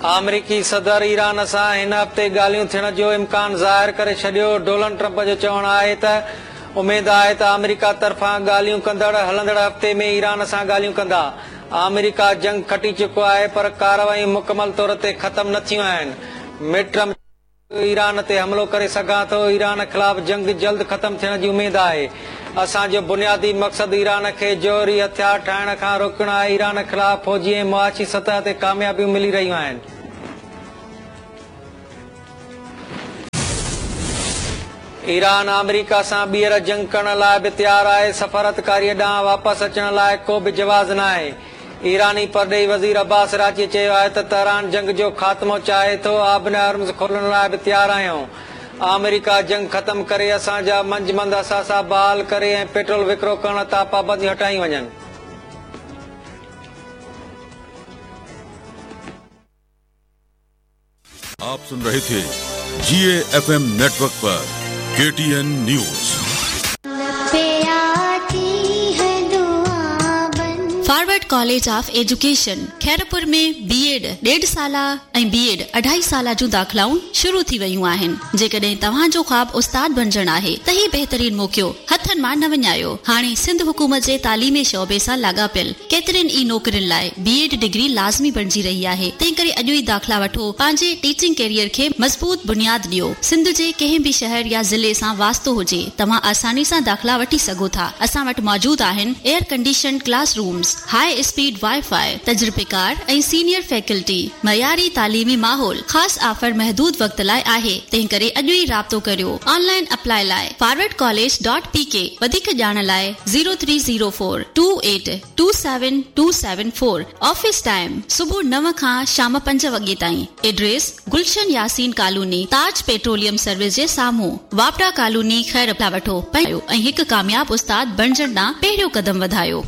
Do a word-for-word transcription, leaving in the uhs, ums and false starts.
آمريڪي صدر ايران سان هن هفتي ڳالهيون ٿيڻ جو امڪان ظاهر ڪري ڇڏيو. ڊونلڊ ٽرمپ جو چوڻ آهي ته اميد آهي ته آمريڪا طرفان ڳالهيون ڪندڙ هلندڙ هفتي ۾ ايران سان ڳالهيون ڪندا. آمريڪا جنگ کٽي چڪو آهي، پر ڪارروائيون مڪمل طور تي ختم نه ٿيون آهن. مڊ ايران تي حملو ڪري سگهان ٿو. ايران خلاف جنگ جلد ختم ٿيڻ جي اميد آهي. اسان جو بنيادي مقصد ايران کي جوهري هٿيار ٺاهڻ کان روڪڻ آهي. ايران خلاف فوجي ۽ معاشي سطح تي ڪاميابيون ملي رهيون آهن. ايران آمريڪا سان ٻيهر جنگ ڪرڻ لاءِ به تيار آهي. سفارتڪاري ڏانهن واپس اچڻ لاءِ ڪو به جواز ناهي. ايراني پرڏيهي وزير عباس عراقچي چيو آهي ته تهران جنگ جو خاتمو چاهي ٿو، آبناءِ هرمز کولڻ لاءِ به تيار آهيون. آمريڪا جنگ ختم ڪري، اسان جا منجمند اثاثا بحال ڪري ۽ پيٽرول وڪرو ڪرڻ تان پابنديون هٽايون وڃن. आप सुन रहे थे जी एफ एम नेटवर्क पर K T N news. Forward college of education Khairpur में बीएड ॾेढ साला ऐं बीएड अढाई साला जूं दाख़िलाऊं शुरू थी वयूं आहिनि। जेकॾहिं तव्हांजो ख़्वाब उस्ताद बणजण आहे त ही बहितरीन मौक़ो हथनि मां न वञायो। हाणे सिंध हुकूमत जे तालीमी शोबे सां लाॻापियल केतिरनि ई नौकरियुनि लाइ बीएड डिग्री लाज़मी बणजी रही आहे, तंहिंकरे अॼु ई दाख़िला वठो, पंहिंजे टीचिंग कैरियर खे मज़बूत बुनियाद ॾियो। सिंध जे कंहिं बि शहर या ज़िले सां वास्तो हुजे, तव्हां आसानी सां दाख़िला वठी सघो था। असां वटि मौजूद आहिनि air condition class rooms, high speed wifi, तजुर्बेकार ऐं सीनियर फैकल्टी, मयारी तालीमी माहौल। ख़ासि ऑफर महदूद वक़्त लाइ आहे, तंहिंकरे अॼु ई राब्तो करियो। ऑनलाइन अप्लाई लाइ forward college dot P K. वधीक ॼाण लाइ zero three zero four two eight two seven two seven four. Office time सुबुह नव खां शाम पंज वॻे ताईं। Address Gulshan Yasin colony, Taj petroleum service जे साम्हूं, वापडा कॉलोनी, खैर। वठो ऐं हिकु कामयाब उस्ताद बणजण ॾांहुं पहिरियों कदम वधायो।